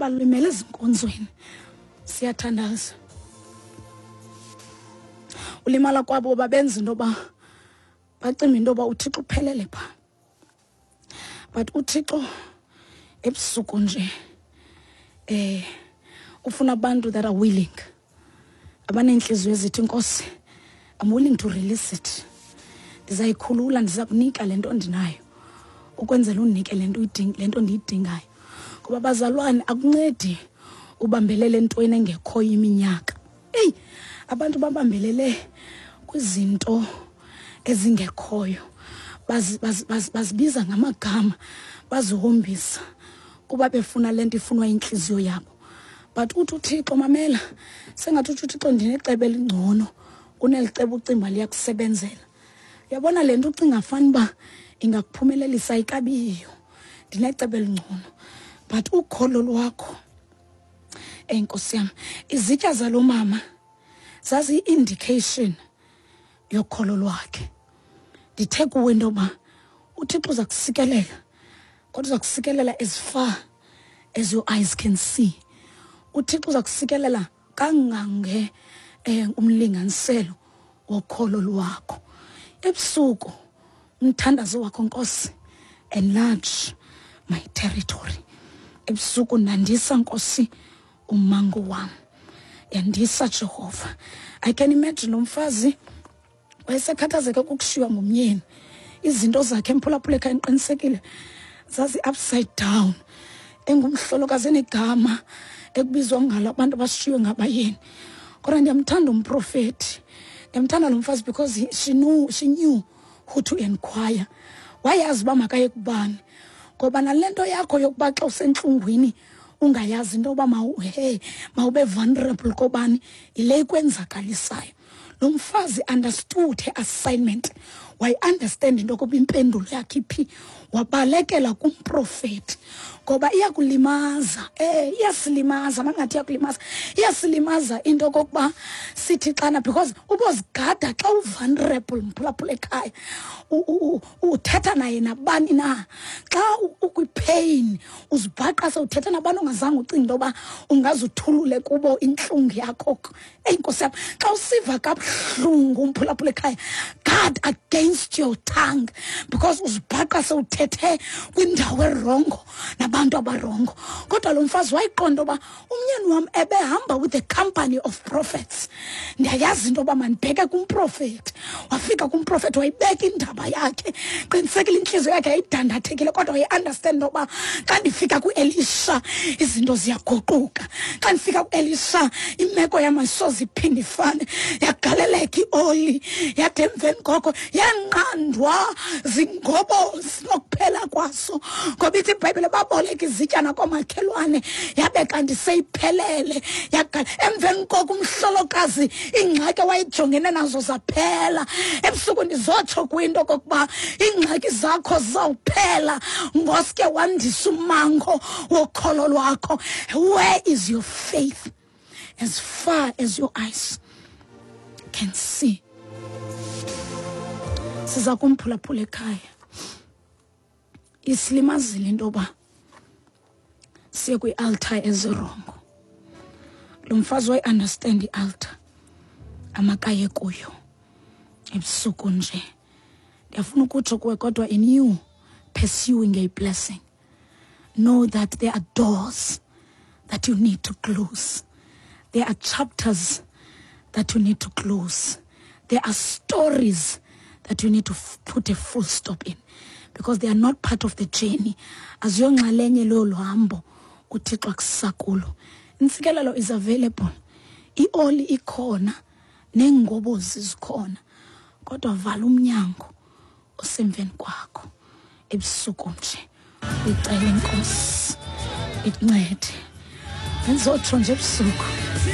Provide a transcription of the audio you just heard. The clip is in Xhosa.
Abalimele ezinkonzweni siyathandaza. Ulimala kwabo babenza into yoba bacinga into yoba uThixo uphelele phaa. But uThixo ebusuku nje eh ufuna abantu that are willing, abaneentliziyo ezithi, Nkosi, I'm willing to release it, ndizayikhulula, ndiza kunika le nto ndinayo ukwenzela undinike le nto le nto ndiyidingayo. Ngoba bazalwane, akuncedi ubambelele entweni engekhoyo iminyaka. Eyi, abantu babambelele kwizinto ezingekhoyo, bazibiza ngamagama, bazihombisa kuba befuna le nto ifunwa intliziyo yabo. But uthi uThixo, mamela, sengathi uthi uThixo, ndinecebo elingcono kuneli cebo ucinga liyakusebenzela. Uyabona le nto ucinga fana uba ingakuphumelelisa ikabiyo, ndinecebo elingcono. But ukholo lwakho, eyi Nkosi yam, izitya zalo mama zaziyi-indication yokholo lwakhe. Ndithe kuwe into yoba uThixo uza kusikelela, kodwa uza kusikelela as far as your eyes can see. UThixo uza kusikelela kangange umlinganiselo wokholo lwakho. Ebusuku umthandazo wakho, Nkosi, enlarge my territory. Ebusuku nandisa, Nkosi, umango wam, yandisa Jehova. I can imagine lo mfazi wayesekhathazeka kukushiywa ngumyeni, izinto zakhe emphulaphula ekhaya ndiqinisekile zazi upside down, engumhlolokazi enegama ekubizwa ngalo abantu abashiywe ngabayeni. Kodwa ndiyamthanda umprofethi, ndiyamthanda lo mfazi, because she knew who to inquire. Wayazi uba makaye kubani. Ngoba nale nto yakho yokuba xa usentlungwini ungayazi into yoba hey, mawube vulnerable kobani, yile ikwenzakalisayo. Lo mfazi understood her assignment, wayi-understand into yokuba impendulo yakhe iphi, wabalekela kumprofethi. Ngoba iyakulimaza, iyasilimaza, mangathi iyakulimaza, iyasilimaza into yokokuba sithi xana, because ubozigada xa u-vulnerable, mphulaphula ekhaya, uthetha naye nabani na. Xa ukwi-pain uzibhaqa sewuthetha nabantu ongazange ucinga into yoba ungaze uthulule kubo intlungu yakho. Eyi Nkosi yam, xa usiva kabuhlungu umphulaphula ekhaya, guard against your tongue, because uzibhaqa sewuthethe kwindawo erongo nabantu abarongo. Kodwa lo mfazi wayiqonda uba umnyeni wam ebehamba with the company of prophets, ndiyayazi into yoba mandibheke kumprofethi. Wafika kumprofethi, wayibeka indaba yakhe. Qinisekile intliziyo yakhe yayidandathekile, kodwa wayi-understand into yoba xa ndifika kuElisha izinto ziyaguquka, xa ndifika kuElisha imeko yam ayisoze iphinde ifane. Yagaleleka ioli, yade emveni koko yanqandwa zingobozi nokuphela kwaso, ngoba ithi iBhayibhile baboleka izityana koomakhelwane, yabe kanti seyiphelele. Yagala emveni koko umhlolokazi, iingxaki awayejongene nazo zaphela. Ebusuku ndizotsho kwinto kokuba iingxaki zakho zizawuphela ngoske wandisa umango wokholo lwakho. Where is your faith? As far as your eyes can see. Siza kumphulaphula ekhaya, isilimazile into yoba siye kwi-altar ezirongo. Lo mfazi wayi-understand i-altar amakaye kuyo. Ebusuku nje ndiyafuna ukutsho kuwe, kodwa in you pursuing a blessing, know that there are doors that you need to close, there are chapters that you need to close, there are stories that you need to put a full stop in, because they are not part of the journey. Aziyonxalenye leyo luhambo uThixo akusakulo. Intsikelelo is available, ioli ikhona, neengobozi zikhona, kodwa vala umnyango osemveni kwakho. Ebusuku nje uyicela iNkosi ikuncede. Bendizotsho nje ebusuku.